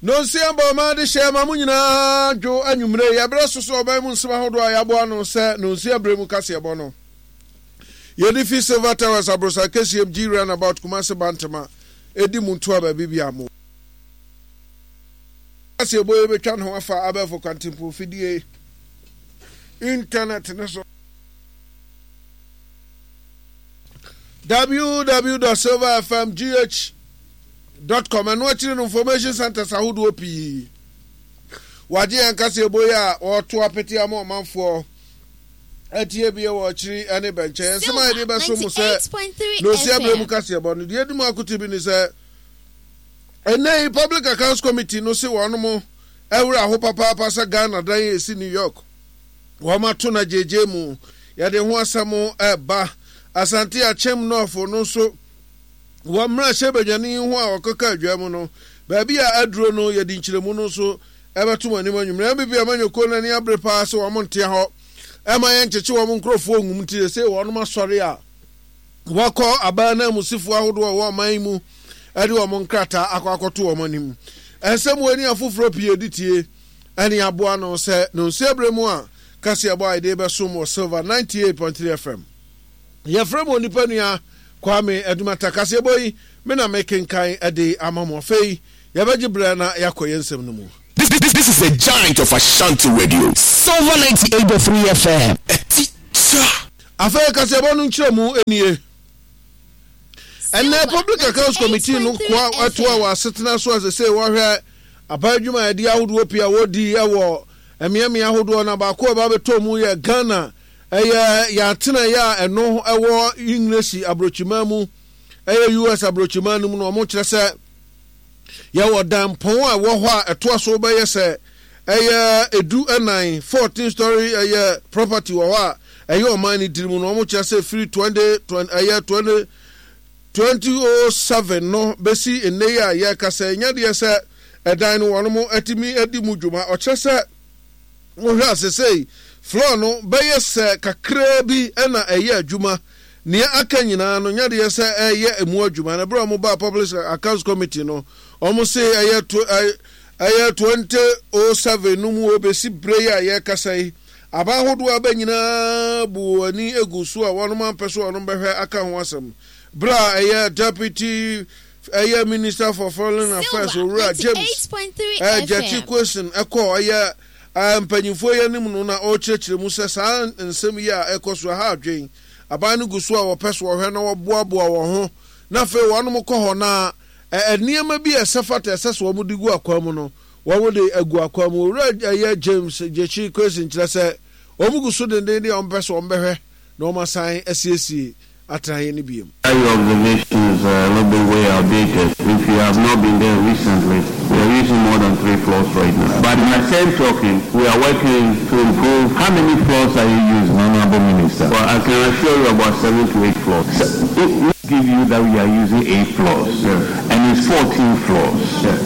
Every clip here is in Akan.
Nonsia bɔ ɔman adehyeɛ ma mo nyinaa dwo anwummere yi. Ɛberɛ so sɛ ɔman mu nsɛm ahodoɔ a yɛaboa ano sɛ nonsia berɛ mu kaseɛbɔ no. Yɛde fi Silver Towers aborosan kɛseɛm G Runabout Kumasi Bantama ɛdi mu ntoa baabi bia mo. Kaseɛbɔ yi bɛtwa ne ho afa abɛɛfo kwantempɔn fidie, internet no so. www.silverfmgh.com Ɛno akyiri no information centers ahodoɔ pii wagye yɛn kaseɛbɔ yi a wɔto apete ama ɔmanfoɔ atie bie wɔ akyiri ne bɛnkyɛn. Nsɛm a yɛde bɛso mo sɛ na osi abere mu kaseɛbɔ no deɛ edi mu akote bi ne sɛ ɛnɛ yi Public Accounts Committee no se wɔn ɛwerɛ aho papaapa sɛ Ghana dan a esi New York Wɔato no agyegye mu. Yɛde ho asɛm reba. Asante Akyem North no nso, wɔ mmarahyɛbadwani yi ho a ɔkeka adwa mu no, baabi a aduro no, yɛde nkyerɛmu no nso bɛto mo anim anwummerɛ. NPP amanyɔkuo no ani abere paa sɛ wɔn ntea hɔ ɛma yɛnkyekye wɔn nkurɔfoɔ ngum nti sɛ wɔnom asɔre a wɔakɔ aban ananmusifoɔ ahodoɔ a ɛwɔ ɔman yi mu de wɔn nkrataa akɔ akɔto wɔn anim. Nsɛm wei ne afoforɔ pii ɛdi tie. Ɛne aboa no sɛ nonsia berɛ mu a kaseɛbɔ a yɛde rebɛsom wɔ Silver 98.3 FM. Yɛfrɛ mo onipa nua Kwame Adumata. Kaseɛbɔ yi, me na mekenkan de ama mo. Afei, yɛbɛgye berɛ na yɛakɔ yɛn nsɛm no mu. This this this is the giant of Ashanti Radio. Silver 98.3 FM. Ɛti kya. Afei kaseɛbɔ no nkyerɛmu nie. Ɛnnɛ Public Accounts Committee no koa toa wɔ asetena so a sesei wɔhwɛ aban adwumayɛdeɛ ahodoɔ pii a wɔdi wɔ mmeammea ahodoɔ na baako a ɛba bɛtɔ mu yɛ Ghana ɛyɛ yɛn atenaeɛ a ɛno ɛwɔ Englesi aburokyiman mu ɛyɛ US aburokyiman no mu no wɔn kyerɛ sɛ Yɛwɔ danpɔn a ɛwɔ hɔ a ɛtoa so bɛyɛ sɛ ɛyɛ edu ɛnan, 14 story ɛyɛ property wɔ hɔ a ɛyɛ ɔman no tiri mu no wɔn kyerɛ sɛ firi 20 20 ɛyɛ 20 2007 no bɛsi nnɛ yi a yɛrekasa yi nyɛ deɛ sɛ ɛdan no wɔn atumi adi mu dwuma. Ɔkyerɛ sɛ Wohwɛ a sesei floor no bɛyɛ sɛ kakraa bi na ɛyɛ adwuma, nea aka nyinaa no nyɛ deɛ sɛ ɛreyɛ emu adwuma. Na berɛ a wɔbaa Public Accounts Committee no, wɔse ɛyɛ ɛyɛ 2007 no mu bɛsi berɛ yi a yɛrekasa yi, aban ahodoɔ a aba nyinaa bu wɔn ani gu so a wɔnom ampɛ sɛ wɔnom bɛhwɛ aka ho asɛm. Berɛ a ɛyɛ Deputy ɛyɛ Minister for Foreign Affairs Owura James Gyakye Quayson kɔɔ ɛyɛ mpanyinfoɔ yi anim no na ɔrekyerɛkyerɛ mu sɛ saa nsɛm yi a ɛkɔ so ɛha adwen. Aban no gu so a wɔpɛ so wɔhwɛ na wɔboaboa wɔn ho na afei wɔnom kɔ hɔ na nneɛma bi a ɛsɛ fata ɛsɛ sɛ wɔn de gu akwan mu no wɔn de agu akwan mu. Owura ɛyɛ James Gyakye Quayson kyerɛ sɛ wɔn gu so dendenden a wɔn pɛ sɛ wɔn bɛhwɛ na wɔn asan asiesie atenaeɛ no bio. Your observations are a little bit way outdated. If you have not been there recently, we are using more than three floors right now. But in the same token, we are working to improve. How many floors are you using, Honorable Minister? Well, I can assure you about seven to eight floors. So, give you that we are using eight floors, yeah. and it's 14 floors. Yeah.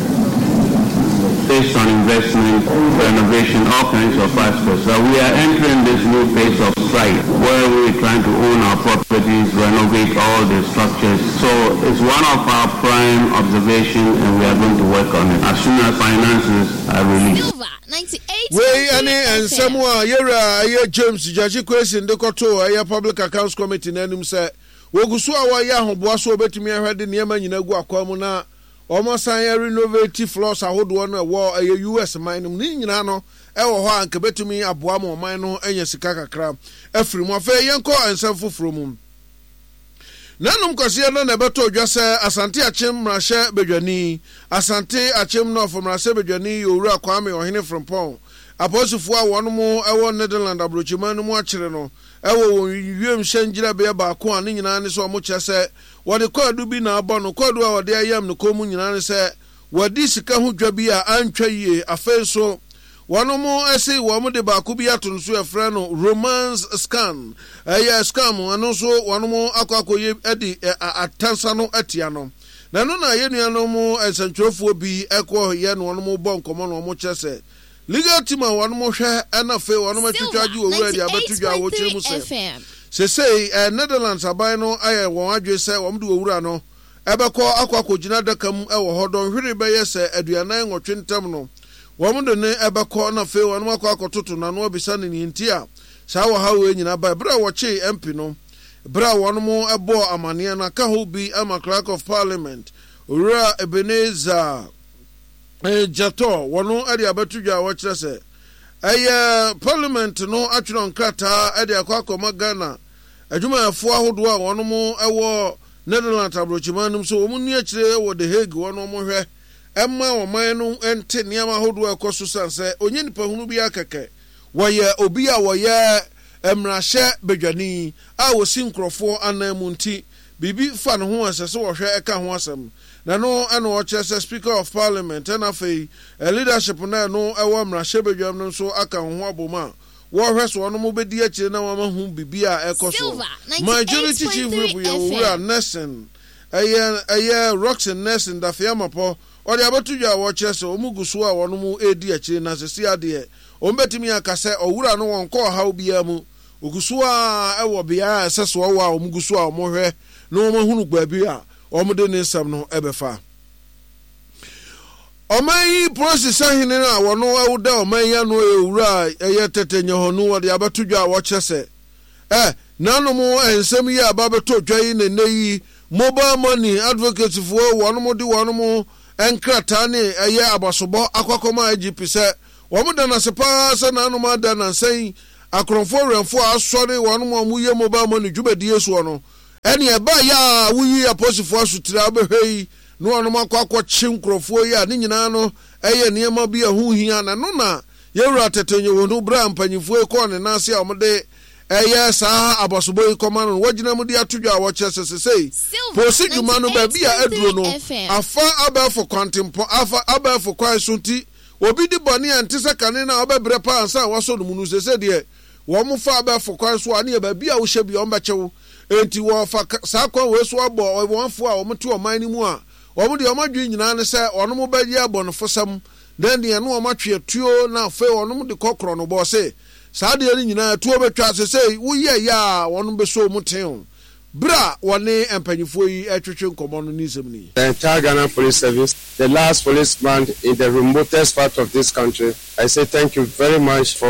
Based on investment, renovation, all kinds of aspects. So we are entering this new phase of strike where we are trying to own our properties, renovate all the structures. So it's one of our prime observation and we are going to work on it as soon as finances are released. Wei ne nsɛm a yɛwura ɛyɛ James Gyakye Quayson de kɔtoo ɛyɛ Public Accounts Committee no anim sɛ wɔgu so a wɔreyɛ ahoboa so wɔbɛtumi ahwɛ de nneɛma nyinaa agu akwan mu na Wɔasan arenovate floors ahodoɔ no ɛwɔ ɛyɛ US man no mu. Ne nyinaa no ɛwɔ hɔ a anka ɛbɛtumi aboa ma ɔman no anya sika kakra afiri mu. Afei yɛnkɔ nsɛm foforɔ mu. Nanom Kwasia no na ɛbɛtɔ dwa sɛ Asante Akyem mmarahyɛ badwani, Asante Akyem North mmarahyɛ badwani yɛ Owura Kwame Ɔhene Frimpong. Apolisifoɔ a wɔn wɔ Netherland aburokyiman no mu akyere no wɔ wɔn wiemhyɛn gyinabea baako a ne nyinaa ne sɛ wɔkyerɛ sɛ Wɔde kwaadu bi na abɔ no. Kwaadu a wɔde ayam ne kɔn mu nyinaa ne sɛ wadi sika ho dwa bi a antwa yie. Afei nso, wɔnom se wɔde baako bi ato no so yɛfrɛ no romance scam. Ɛyɛ scam, ɛno nso wɔnom akɔ akɔyɛ de atansa no atia no. Na ɛno na yɛn nuanom nsɛntwerɛfoɔ bi kɔ yɛ na wɔnom bɔ nkɔmmɔ na wɔn kyerɛ sɛ Legal team a wɔnom hwɛ ɛna afei wɔnom atwitwa agye owura de abɛto dwa a wɔkyerɛ mu sɛ sesei Netherlands aban no ayɛ wɔn adwene sɛ wɔn de owura no. bɛkɔ akɔ akɔgyina adaka mu wɔ hɔ dɔnhwere bɛyɛ sɛ 48 ntam no, wɔn de no bɛkɔ na afei wɔn akɔ akɔtoto n'ano abisa no nea nti a saa ɔhaw wei nyinaa bae. Bere a wɔkyee MP no, bere a wɔn bɔɔ amaneɛ no, aka hɔ bi ama Clerk of Parliament, Owura Ebenezer Gyatɔ, wɔn de abɛto dwa a wɔkyerɛ sɛ ɛyɛ Parliament no atwerɛ nkrataa de akɔ akɔma Ghana adwumayɛfoɔ ahodoɔ a wɔn wɔ Netherlands abrokyiman no mu sɛ wɔn nni akyire wɔ The Hague hɔ na wɔn hwɛ mma ɔman no nte nneɛma ahodoɔ a ɛkɔ so sane sɛ ɔnyɛ nipa hunu biara kɛkɛ. Wɔyɛ obi a wɔyɛ mmarahyɛ badwani a ɔsi nkorɔfoɔ anan mu nti biribi fa ne ho a ɛsɛ sɛ wɔhwɛ ɛka ho asɛm. Na ɛno na ɔkyerɛ sɛ Speaker of Parliament ɛna afei leadership no a ɛno ɛwɔ mmarahyɛ badwam no nso aka wɔn ho abom a wɔrehwɛ so wɔnom bɛdi akyire na wɔama hu biribi a ɛkɔ soɔ. Majority Chief Whip yɛ Owura Nelson ɛyɛ ɛyɛ Rockson Nelson Dafeamapɔ ɔde abɛto dwa a wɔkyerɛ sɛ wɔn gu so a wɔnom redi akyire na sɛsi adeɛ wɔn bɛtumi aka sɛ ɔwura no wɔnkɔ ɔhaw biara mu ɔgu so ara wɔ beaɛ a ɛsɛ sɛ ɔwɔ a wɔn gu so a wɔhwɛ na wɔn ahunu baabi a wɔde ne nsɛm no bɛfa. Ɔman yi polisi sahene no a wɔno da ɔman yi ano yɛ owura a ɛyɛ Tete Nyehonu wɔde abɛto dwa a wɔkyerɛ sɛ ɛ nanom nsɛm yi a aba bɛtɔ dwa yi na nnɛ yi mobile money advocates foɔ wɔnom de wɔnom nkrataa ne ɛyɛ abasobɔ akɔ akɔma IGP sɛ wɔn da no ase paa sɛ nanom ada nansa yi akorɔmfoɔ werɛmfoɔ a asɔre wɔnom a wɔyɛ mobile money dwumadie soɔ no Ɛnneɛ ɛbaeɛ a woyii apolisifoɔ asotire a wobɛhwɛ yi na wɔnom akɔ akɔkye nkurɔfoɔ yi a ne nyinaa no yɛ nneɛma bi a ɛho hia na ɛno na Yɛwura Tete Nyewono berɛ a mpanyinfoɔ yi kɔɔ ne nan ase a wɔde ɛyɛ saa abasobɔ yi kɔma no no wɔgyina mu de ato dwa a wɔkyerɛ sɛ sesei polisi dwuma no baabi a aduro no afa abɛɛfo kwantempɔn afa abɛɛfo kwan so nti obi di bɔne a ɛnte sɛ kane no a ɔbɛbrɛ paa ansa a wɔasɔ no mu no sesei deɛ Wɔfa abɛɛfo kwan so a, ne yɛ baabi a wohyɛ biara wɔbɛkye wo. Enti wɔfa saa kwan wei so abɔ wɔn a wɔte ɔman no mu a wɔn deɛ wɔn adwene nyinaa ne sɛ wɔn bɛyɛ abɔnefosɛm na ɛneɛ na wɔn atwe atuo na afei wɔn de kɔ korɔnobɔ se saa adeɛ no nyinaa atuo bɛtwa sesei woyɛ yɛ a wɔn bɛsɔ mu tew berɛ a wɔne mpanyinfoɔ yi retwetwe nkɔmmɔ no ne nsɛm ni. The entire Ghana Police Service, the last policeman in the remotest part of this country, I say thank you very much for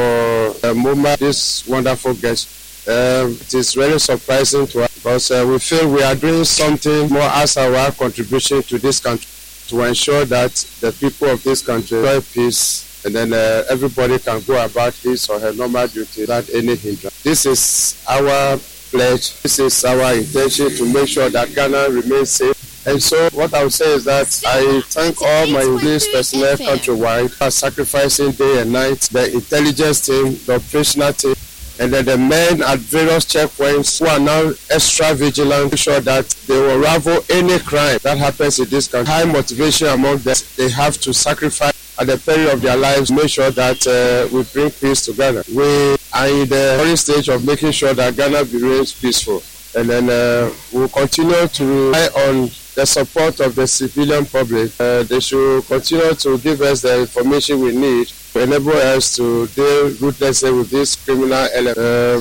the moment, this wonderful guest. Um, it is really surprising to us because uh, we feel we are doing something more as our contribution to this country to ensure that the people of this country enjoy peace and then uh, everybody can go about his or her normal duty without any hindrance. This is our pledge. This is our intention to make sure that Ghana remains safe. And so what I would say is that I thank all my police personnel countrywide for sacrificing day and night, the intelligence team, the operational team, and then the men at various checkpoints who are now extra vigilant to ensure that they will unravel any crime that happens in this country. High motivation among them. They have to sacrifice at the peril of their lives to make sure that uh, we bring peace to Ghana. We are in the early stage of making sure that Ghana remains peaceful. And then uh, we'll continue to rely on the support of the civilian public. Uh, they should continue to give us the information we need to enable us to deal ruthlessly with this criminal element. Uh,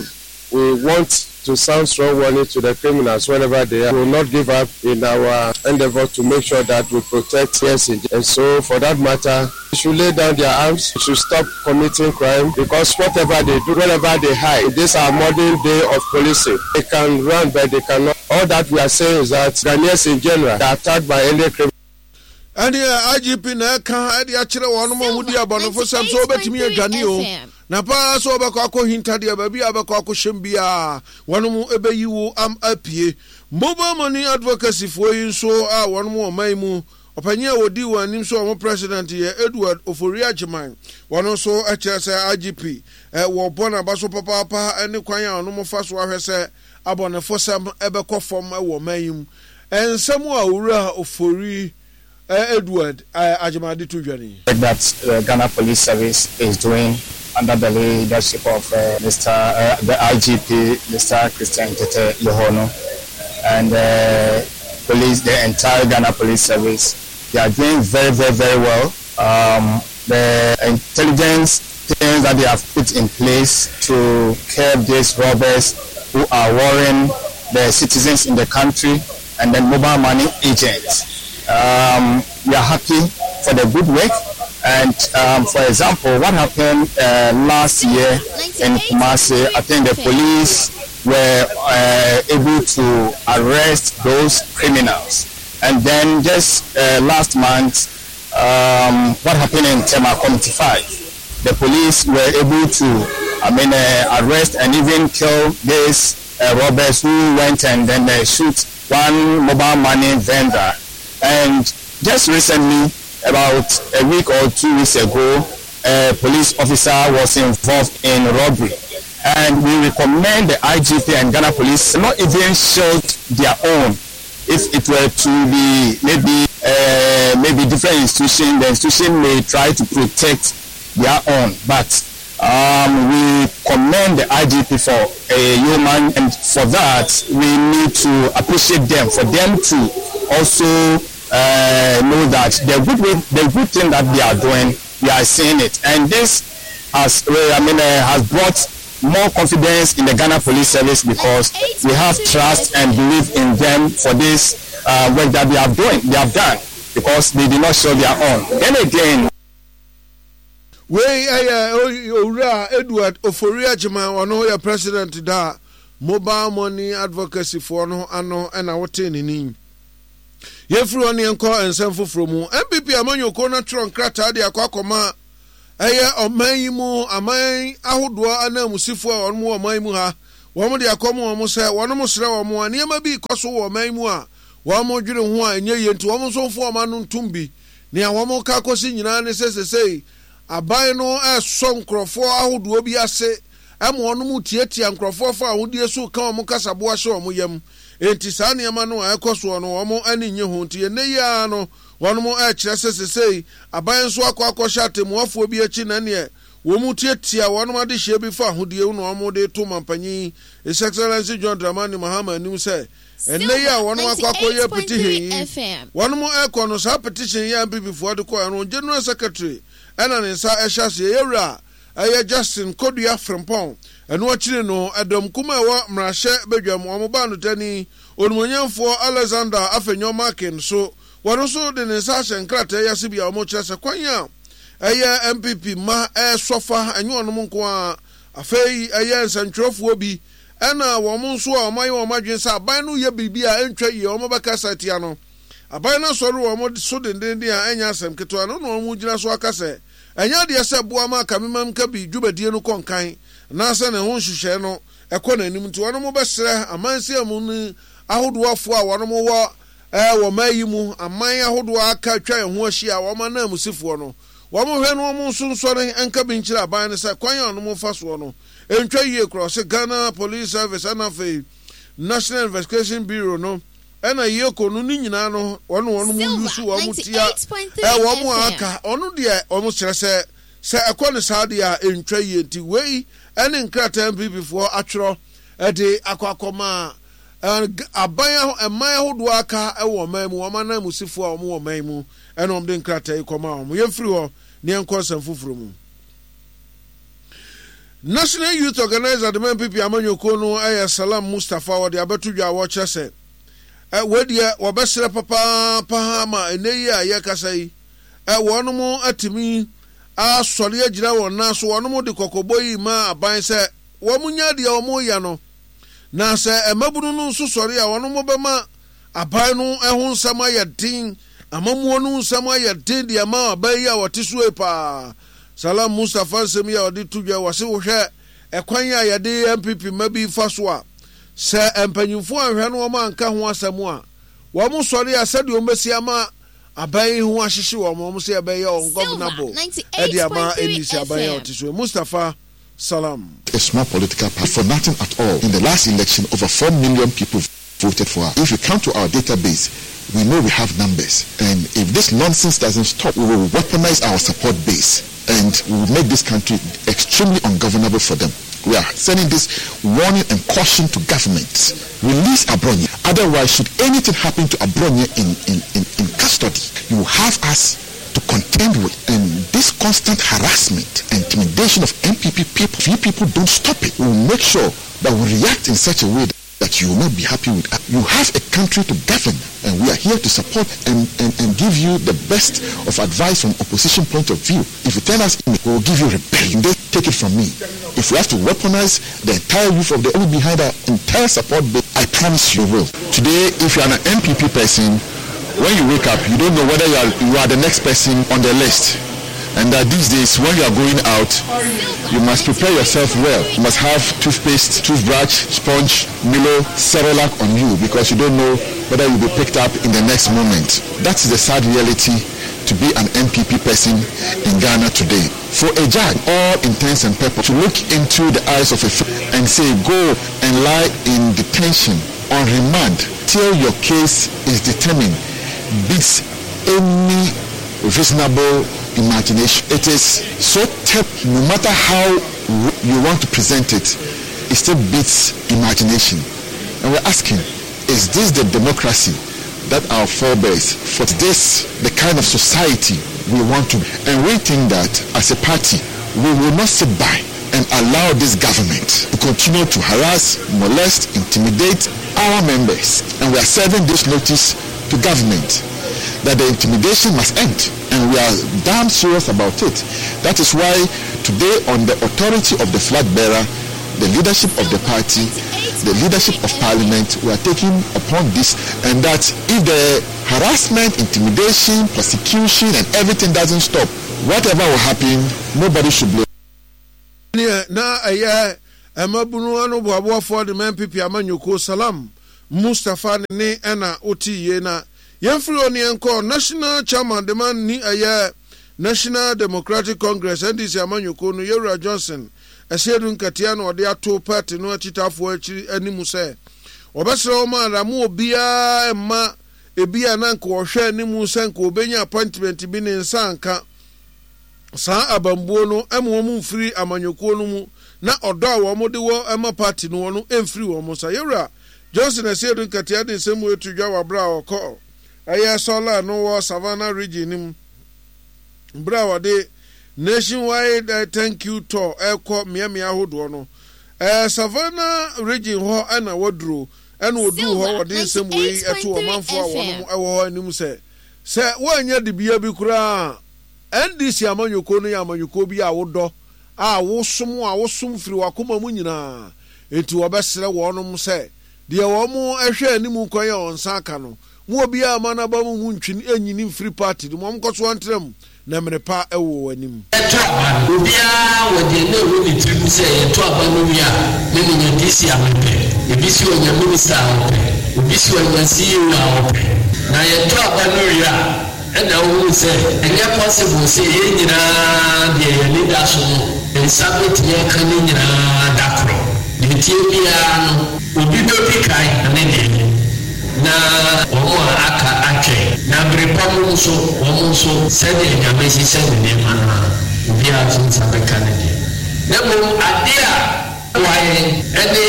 we want to sound strong warning to the criminals wherever they are. We will not give up in our endeavor to make sure that we protect yes. And so, for that matter, they should lay down their arms, they should stop committing crime because whatever they do, wherever they hide, this our modern day of policing. They can run, but they cannot. All that we are saying is that Ghanaians in general are attacked by any criminal. Ɛnneɛ IGP na ɛka de akyerɛ wɔn a wɔdi abɔnefosɛm sɛ wɔbɛtumi adwane o, na paa sɛ wɔbɛkɔ akɔhinta deɛ baabi a wɔbɛkɔ akɔhyɛm biara wɔn bɛyi wo am apue. Mobile Money Advocacy foɔ yi nso a wɔn wɔ ɔman yi mu, ɔpanyin a wɔdi wɔn anim sɛ wɔn president yɛ Edward Ofori Agyeman, wɔn nso kyerɛ sɛ IGP wɔbɔ n'aba so papaapa ne kwan a wɔn fa so ahwɛ sɛ abɔnefosɛm bɛkɔ fam wɔ ɔman yi mu. Nsɛm a Owura Ofori Edward Agyemang de to dwa ni. That the Ghana Police Service is doing under the leadership of Mister the IGP Mister Christian Tetteh Yohuno and the police the entire Ghana Police Service they are doing very very very well um the intelligence things that they have put in place to curb these robbers who are worrying the citizens in the country. and then mobile money agents. Um, we are happy for the good work. And um, for example, what happened last year in Kumasi, I think the police were able to arrest those criminals. And then just last month, um, what happened in Tema Committee 5, the police were able to, I mean, arrest and even kill these robbers who went and then shoot one mobile money vendor. And just recently, about a week or two weeks ago, a police officer was involved in robbery. And we recommend the IGP and Ghana police not even shield their own. If it were to be maybe uh, maybe different institution, the institution may try to protect their own. But um, we commend the IGP for a human, and for that we need to appreciate them, for them to also know that the good way, the good thing that they are doing, we are seeing it, and this has, I mean, has brought more confidence in the Ghana Police Service because we have trust and belief in them for this work that they have doing, they have done because they did not show their own. Then again. Wei yɛ Owura Edward Ofori Agyemang, ɔno yɛ President da Mobile Money Advocacy foɔ no ano na wotee ne ni. Yɛmfiri hɔ ne yɛnkɔ nsɛm foforɔ mu. NPP amanyɔkuo no atwerɛ nkrataa de akɔ akɔma ɛyɛ ɔman yi mu aman ahodoɔ ananmusifoɔ a wɔn wɔ ɔman yi mu ha. Wɔn de akɔma wɔn sɛ wɔn srɛ wɔn a nneɛma bi rekɔ so wɔ ɔman yi mu a wɔn dwene ho a ɛnyɛ yie nti wɔn nso mfa wɔn ano ntom bi. Nea wɔka kɔsi nyinaa ne sɛ sesei aban no resɔ nkurɔfoɔ ahodoɔ bi ase ma wɔn tiatia nkurɔfoɔ fa ahodie so reka wɔn kasaboa hyɛ wɔn yam. Enti saa nneɛma no a ɛrekɔ soɔ no wɔn ani nnye ho. Nti ɛnnɛ yi ara no wɔn rekyerɛ sɛ sesei aban nso akɔ akɔhyɛ atɛmmuafoɔ bi akyi na ɛneɛ wɔn tiatia wɔn adehyeɛ bi fa ahodie ho na wɔn de reto Mampanyin His Excellency John Dramani Mahama anim sɛ Ɛnnɛ yi a wɔnom akɔ akɔyɛ petition yi, wɔnom ɛkɔ no saa petition yi a NPP foɔ de kɔɛ no General Secretary ɛna ne nsa ɛhyɛ aseɛ, yɛwura ɛyɛ Justin Kodua Frimpong, ɛno akyiri no ɛdɔm kum a ɛwɔ mmarahyɛ badwam wɔn baanotani Onimonyamfoɔ Alexander Afenyo Markin so wɔn nso de ne nsa ahyɛ nkrataa yi ase bi a wɔn kyerɛ sɛ kwan a ɛyɛ NPP mma ɛresɔ fa ɛnyɛ wɔnom nko ara afei ɛyɛ nsɛntwerɛfoɔ bi Ɛnna wɔn nso a wɔayɛ wɔn adwene sɛ aban no reyɛ biribi a ɛntwa yie a wɔbɛkasa atia no. Aban no asɔre wɔn so dendeenden a ɛnyɛ asɛm ketewa no na wɔgyina so aka sɛ ɛnyɛ adeɛ sɛ boa ma Kamimamkabi dwumadie no kɔ nkan anaasɛ ne ho nhyehyɛe no kɔ n'anim nti wɔn bɛsrɛ amansin mu ahodoɔfoɔ a wɔn wɔ wɔ ɔman yi mu aman ahodoɔ a aka atwa yɛn ho ahyia a wɔn ananmusifoɔ no wɔn hwɛ no wɔn nso nsɔre nka bi nkyerɛ aban no sɛ kwan a wɔn fa soɔ no Ɛntwa yie koraa ɔse Ghana Police Service ɛna afei National Investigation Bureau no ɛna EOCO no ne nyinaa no wɔn wɔn mu yusu wɔn tia ɛ wɔn a aka ɔno deɛ wɔn kyerɛ sɛ sɛ ɛkɔ ne saa deɛ a ɛntwa yie nti wei ɛne nkrataa NPP foɔ atwerɛ ɛde akɔ akɔma aban ɛman ahodoɔ aka ɛwɔ ɔman mu wɔn ananmusifoɔ a wɔn wɔ ɔman mu ɛna wɔn de nkrataa yi kɔma wɔn yɛmfiri hɔ ne yɛnkɔ nsɛm foforɔ mu. National Youth Organiser de ma NPP amanyɔkuo no yɛ Salam Mustapha wɔde abɛto dwa a wɔkyerɛ sɛ wei deɛ wɔbɛsrɛ papaapa ma ɛnɛ yi a yɛkasa yi wɔnom atumi asɔre agyina wɔn nan so wɔnom de kɔkɔbɔ yi ma aban sɛ wɔn nya deɛ wɔn yɛ no na sɛ mmabunu no nso sɔre a wɔnom bɛma Aban no ho nsɛm ayɛ den, amammuo no nsɛm ayɛ den de ama aban yi a wɔte so yi paa. Salam Mustapha nsɛm yi a ɔde to dwa yi, wɔse wohwɛ ɛkwan a yɛde NPP mma bi fa so a, sɛ mpanyinfoɔ anhwɛ no wɔn anka ho asɛm a, wɔn sɔre a sɛdeɛ wɔn bɛsi ama aban yi ho ahyehye wɔn, wɔn sɛ ɛbɛyɛ ungovernable ɛde ama NDC aban yi a ɔte so yi. Mustapha Salam. A small political party for nothing at all. In the last election, over 4 million people voted for us. If you come to our database, we know we have numbers. And if this nonsense doesn't stop, we will weaponize our support base and we will make this country extremely ungovernable for them. We are sending this warning and caution to government. Release Abronye. Otherwise, should anything happen to Abronye in, in, in, in custody, you will have us to contend with. And this constant harassment and intimidation of NPP people, if you people don't stop it, we will make sure that we react in such a way that But you will not be happy with us. You have a country to govern, and we are here to support and, and, and give you the best of advice from opposition point of view. If you turn us in, we will give you rebellion. They take it from me. If we have to weaponize the entire youth of the behind our entire support base, I promise you will. Today, if you are an NPP person, when you wake up, you don't know whether you are, you are the next person on the list. And that these days, when you are going out, you must prepare yourself well. You must have toothpaste, toothbrush, sponge, Milo, Cerelac on you because you don't know whether you'll be picked up in the next moment. That is the sad reality to be an NPP person in Ghana today. For a judge, all intents and purposes, to look into the eyes of a and say, go and lie in detention on remand till your case is determined, beats any reasonable imagination. It is so terrible, no matter how you want to present it, it still beats imagination. And we're asking, is this the democracy that our forebears for this the kind of society we want to? And we think that as a party, we will not sit by and allow this government to continue to harass, molest, intimidate our members. And we are serving this notice to government that the intimidation must end. And we are damn serious about it. That is why today, on the authority of the flag bearer, the leadership of the party, the leadership of parliament, we are taking upon this, and that if the harassment, intimidation, persecution, and everything doesn't stop, whatever will happen, nobody should blame. Neɛ na ɛyɛ mmabunu ano boaboafoɔ de ma NPP amanyɔkuo Salam Mustapha ne ne ɛna wote yie na yɛmfiri hɔ ne yɛnkɔ National Chairman de ma ni ɛyɛ National Democratic Congress NDC amanyɔkuo no Yɛwura Johnson Asiedu Nkatia na ɔde ato party no akyitaafoɔ akyiri anim sɛ wɔbɛsrɛ wɔn ara mo obiara mma ebi a na nka ɔhwɛ anim sɛ nka ɔbɛnya appointment bi ne nsa anka saa abambuo no ma wɔn mfiri amanyɔkuo no mu na ɔdɔ a wɔn de wɔ ma party no no mfiri wɔn nsa. Yɛwura Johnson Asiedu Nkatia de nsɛm wei to dwa wɔ aberɛ a ɔkɔ ɛyɛ Sɔla no wɔ Savannah Region no mu berɛ a wɔde Nationwide Thank You Tour ɛrekɔ mmeammea ahodoɔ no. Ɛɛ Savannah Region hɔ ɛna waduro ɛna ɔduu hɔ wɔde nsɛm wei ɛto ɔmanfoɔ a wɔn ɛwɔ hɔ anim sɛ sɛ wɔannya dibea bi koraa a NDC amanyɔkuo no yɛ amanyɔkuo bi a wodɔ a wosom a wosom firi w'akoma mu nyinaa, enti wɔbɛsrɛ wɔnom sɛ deɛ wɔn hwɛ anim kwan a wɔn nsa aka no, mo obiara mma n'aba mu mu ntwe nyini mfiri party no mu, wɔn nkɔ so ntra mu, na mmere pa wɔ wɔn anim. Yɛto aba no, obiara wɔ deɛ na ɛwɔ ne tiri mu sɛ yɛto aba no wie a, me menya DC a mepɛ, ebi si ɔnya minister a ɔpɛ, obi si ɔnya CEO a ɔpɛ. Na yɛto aba no wie a, Ɛna wohuu sɛ ɛnyɛ possible sɛ yɛn nyinaa deɛ yɛn ani da so no yɛn nsa bɛtumi aka ne nyinaa da korɔ. Deɛ ɛteɛ biara no obi bɛdi kan ne deɛ na wɔn a aka atwɛn. Na bere pa mu nso wɔn nso sɛdeɛ Nyame hyehyɛ ne nneɛma no ara obiara nso nsa bɛka ne deɛ. Na mmom adeɛ a. Boa yɛn ne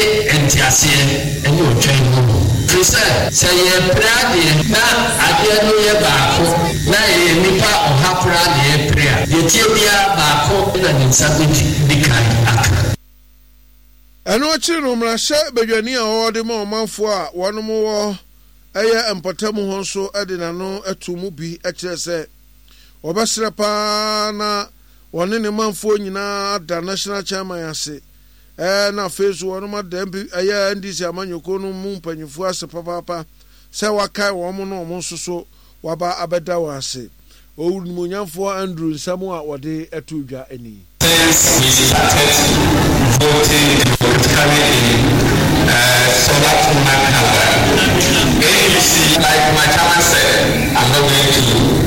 nteaseɛ ne ɔtwɛn honhom. Firi sɛ, sɛ yɛrepere adeɛ na adeɛ no yɛ baako na yɛyɛ nnipa ɔha koraa na yɛrepere a, deɛ ɛteɛ biara baako na ne nsa bɛdi kan aka. Ɛno akyiri no, mmarahyɛ badwani a ɔwɔ de ma ɔmanfoɔ a wɔnom wɔ ɛyɛ mpɔtam hɔ nso de n'ano too mu bi kyerɛɛ sɛ wɔbɛsrɛ pa ara na wɔne ne manfoɔ nyinaa ada National Chairman ase ɛɛ na afei nso wɔnom ada MP ɛyɛ NDC amanyɔkuo no mu mpanyinfoɔ ase papaapa sɛ wakae wɔn na wɔn nso so waba abɛda wɔn ase. Owurnimuonyamfoɔ Andrew nsɛm a wɔde too dwa ni. Since we started voting democratically.